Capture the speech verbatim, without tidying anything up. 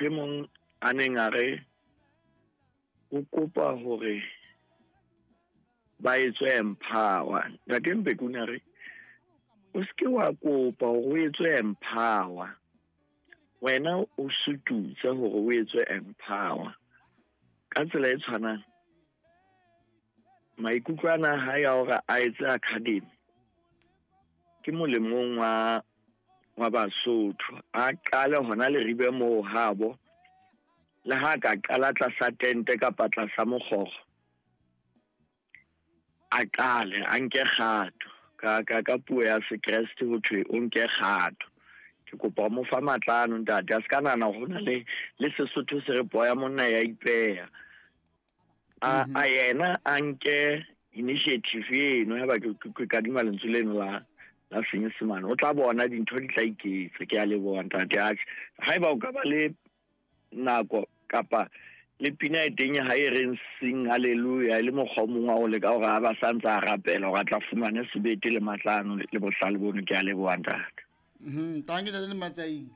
E mong a neng a re o kopa hore ba etswe empower. Ntate Mbeki o ne a re o seke wa kopa hore o etswe empower, wena o sututse hore o etswe empower. Ka tsela e tshwanang maikutlo ana a hae a hore a etse academy ke molemong wa wa Basotho. A qale hona Leribe moo habo, le ha ka qala tlasa tente kapa tlasa mokgoro, a qale a nke kgato. Ka ka ka puo ya Sekreste ho thwe o nke kgato. Ke kopa ho mo fa matla ano ntate, a se ka nahana hore hona le le Sesotho se re poo ya monna ya ipeha. A a yena a nke initiative eno, haeba ke ke kadima lentswe leno la la Senyesemane, o tla bona dintho di tla iketsa. Ke a leboha ntate. Atjhe, haeba o ka ba le nako kapa le pina e teng ha e reng sing hallelujah, e le mokgwa o mong wa ho leka hore ha ba sa ntse a rapela hore a tla fumane sebete le matla ano le bohlale bono. Ke a leboha ntate. Mhm, thank you, Ntate Matsaing.